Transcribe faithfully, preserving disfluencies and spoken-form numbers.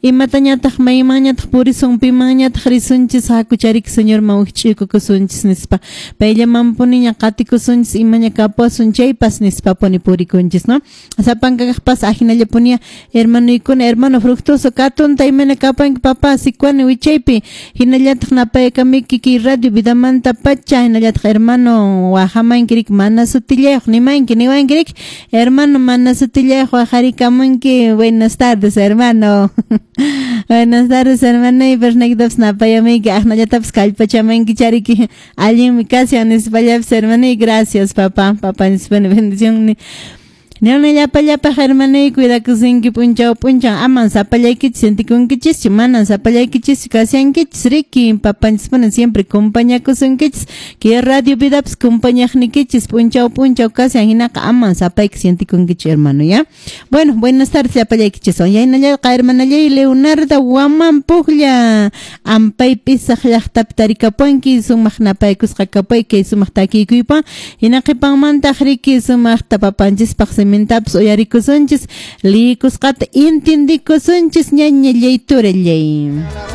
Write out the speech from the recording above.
Imatañataq maymanñataq purisun, pimanñataq risunchis, hakuchariki Señorman wikch'uykukusunchis nispa. Payllamanpuniña qatikusunchis, imaña kapuwasun chaypas nispapuni purikunchis, no? Sapankaqpas ajinallapunia hermanoykuna, hermano Fructuoso katunta imayna kapanki papá Sicuani wichaypi, hinallataq napaykamiki kay radio vidamanta pacha, hinallataq hermano wajamanki riki mana sutillayuq nimanki niwanki riki hermano mana sutillayuq wajarikamunki. Buenas tardes, hermano. Buenas tardes, hermano, y pernakitapas napayamuyki aqnallatapas kallpachamanki chariki allinmi kashan nispallapas, hermano, y gracias, papá, papá nispa bendición. Ñana llapa llapa hermano, cuidakusinki p'unchaw p'unchaw, aman sapallaykichis sentikunkichis, manan sapallaykichis kashankichis riki, papanchis mana siempre compañakusunkichis, que radio vidapas compañaqnikichis p'unchaw p'unchaw kashan, hinaqa aman sapayki sentikunkichis, hermano, ya. Bueno, buenas tardes llapallaykichis. Yaynallayqa hermanallay Leonardo Guamán Pujlla, ampay pisaq llaqtapi tarikapuanki, sumaq napaykusqa kapay kay sumaq takiykuypa, hina qhipanmantaq riki sumaqta papanchispaq simintapas uyarikusunchis, liyikusqata intindikusunchis ñaña llayturallay.